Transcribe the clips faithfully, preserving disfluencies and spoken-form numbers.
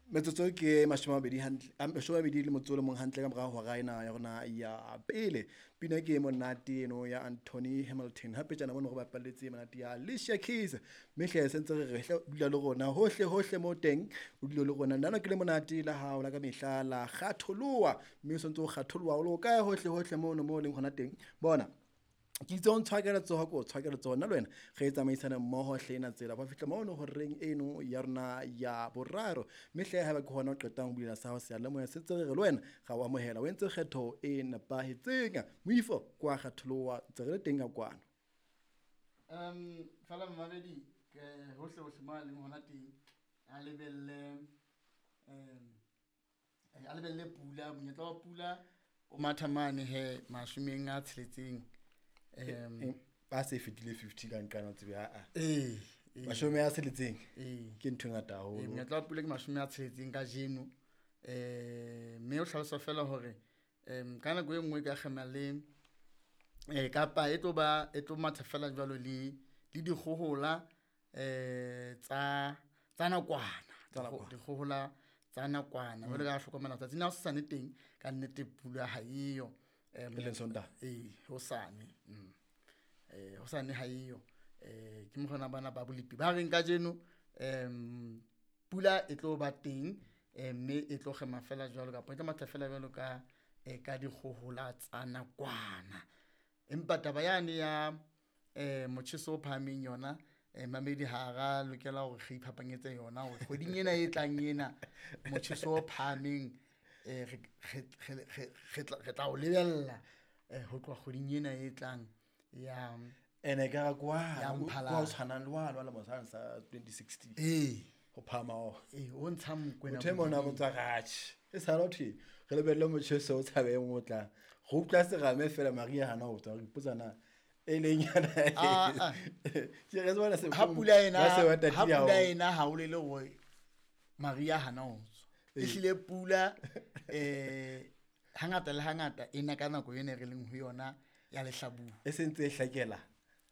Metsotso ke mashome a mabedi hantle, mashome a mabedi le motso o le mong hantle ka mora hora ena ya rona ya pele. Pina ke e monate eno ya Anthony Hamilton. Hape tjana mono re bapalletse monate ya Alicia Keys. Mme hle se ntse re re hle dula le rona hohle hohle mo teng, o dule le rona. Nna ke le monate la hao la ka mehla la kgatholoha, mme o sentse o kgatholoha o le kae hohle hohle mono mo leng hona teng. Bona ke itse o ntshwa ka letsoho, ko tshwa ka letsoho nna le wena re tsamaisana mmoho hle ena tsela ba fihla mono horeng eno ya rona ya boraro. Mme hle haeba ke hona o qetang ho bulela sa hao seyalemoya, se ntse re re le wena ra o amohela, o entse kgetho e nepahetseng. Moifo kwa kgatholoha ntse re le teng ka kwano. Um fela mmamedi ke hohle hohle mo a leng hona teng, a lebelle um a lebelle pula, monyetla wa pula o matha mane he mashomeng a tsheletseng. Um ba se fetile fifty ka nqana tsebe a a. Eh, mashome a tsheletseng. Eh. Ke ntho e ngata haholo. Eh, monyetla wa pula ke mashome a tsheletseng kajeno. Eh, mme o hlalosa fela hore, em, ka nako e nngwe ka kgema le, eh, kapa e tlo ba, e tlo matha fela jwalo le, le dikgohola, eh, tsa, tsa nakwana. Tsa nakwana. Dikgohola tsa nakwana. Jwale ka hlokomela tsatsi la hosasane teng, ka nnete pula ha eyo. Eh, E leng Sontaha? Eh, hosane. Mm. Eh, hosane ha eyo. Eh, ke mokgona bana ba bolepi ba reng kajeno, em, pula e tlo ba teng, eh, mme e tlo kgema fela jwalo kapa e tlo matha fela jwalo ka, eh, ka dikgohola tsa nakwana. Empa taba yane ya, eh, motjheso o phahameng yona, eh, mamedi ha ra lokela hore re iphapanyetse yona hore kgweding ena e tlang ena, motjheso o phahameng, eh, re, re, re, re, re tla, re tla o lebella, eh, ho tloha kgweding ena e tlang ya, Ene ka ra kwa, ya kwa Mphalane. o tshwanang le wa lwa mosana sa twenty sixteen. Ee. Ho phahama ho. Ee, o ntsha mokwena Motho e mong a bodibeng. botsa ratjhe. E sa le thwe, re lebelle motjheso o tshabeng o tlang. Re utlwa serame fela Maria hana ho tswa, re ipotsa na e leng yana. Ah, ah. Ke re tsebana se Ha pula ena, ba se ba tatile ha pula haholo. ena ha o lele hore Maria hana ho tswa. Ee. Ehlile pula, eh, hangata le hangata e na ka nako ena re leng ho yona ya lehlabula. E sentse e hlakela.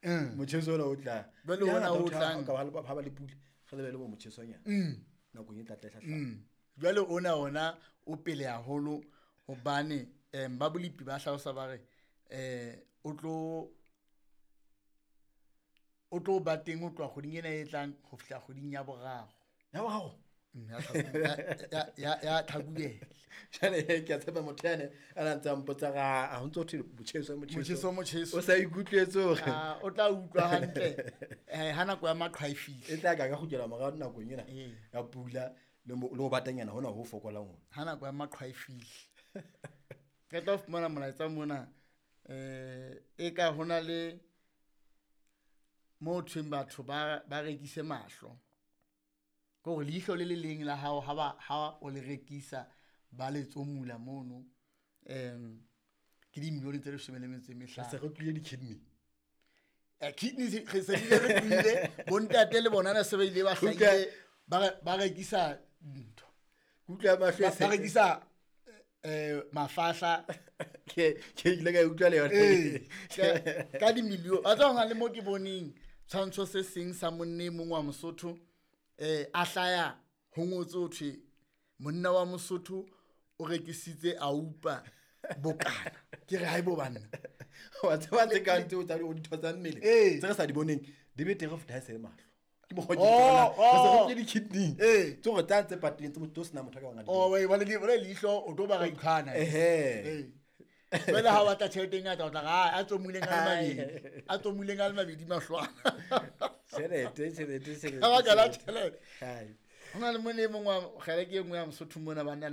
Mm. Motjheso ona o tlang. Jwale Ya ona ngata o o tla tlang. ka ba le ba le pula, re lebelle bo motjhesonyana. Mm. Nakong e tla tla hlahla. Mm. Jwale ona ona o pele haholo hobane, em, ba bolepi ba hlalosa ba re, eh, o tlo, o tlo ba teng ho tloha kgweding ena e tlang ho fihla kgweding ya boraro. Ya boraro? Mm, ya Tlhakubele, ya, ya, ya Tlhakubele. Jwale, ke a tshepa motho yane a na ntse a mpotsa ra, a ho ntso ho thwe motjheso, motjheso. Motjheso, motjheso. O sa ikutlwetse hore Ah, o tla utlwa hantle. Eh, ha nako ya maqhwa e fihle. E tla ka ka kgutlela morao nakong ena Ee. ya pula le mo, le ho batanyana hona ho fokolang hona. Ha nako ya maqhwa e fihle. Re tla fumana molaetsa mona, eh, e ka hona le mo thweng batho ba, ba rekise mahlo. Ke hore leihlo le le leng la hao ha ba, ha o le rekisa ba le tsomula mono, em, ke dimilione tse leshome le metso e mehlano. Se re tlile di-kidney. Eh, kidney se, re se bile re tlile, bontate le bona ne se ba ile ba Utlwa. hlahile, ba re, ba rekisa ntho. Utlwa mahlo Ba, e se ba rekisa, eh, mafahla. Ke, ke ile ka utlwa le yona. Ee, ka, ka dimilione. Wa tseba hona le mo ke boneng tshwantsho se seng sa monna e mong wa Mosotho, eh, a hlaya ho ngotswe ho thwe monna wa Mosotho o rekisitse aupa bokana. Ke re haebo banna. Wa tseba tse kang tseo tsa dintho tsa mmele, Ee. tse re sa di boneng, di betere ho feta ha e se le mahlo. Ke mokgwa o ke Oh, di bonang. Re se re oh. tlile di-kidney. Ee. Tse hore tsa tse patileng, tse motho o sena motho a ka bang a di Oh, bona. wee, ba le di-, ba le leihlo, o tlo ba ra ikhana. Ehe. Ee. Jwale ha o batla tjhelete e ngata, o tla re, ah, a tsomuleng a le mabedi. A tsomuleng a le mabedi mahlwana. Tjhelete, tjhelete, tjhelete, Ka baka la tjhelete. tjhelete. Hai. Ho na le monna e mong wa kgele ke e nngwe ya Mosotho mona, banna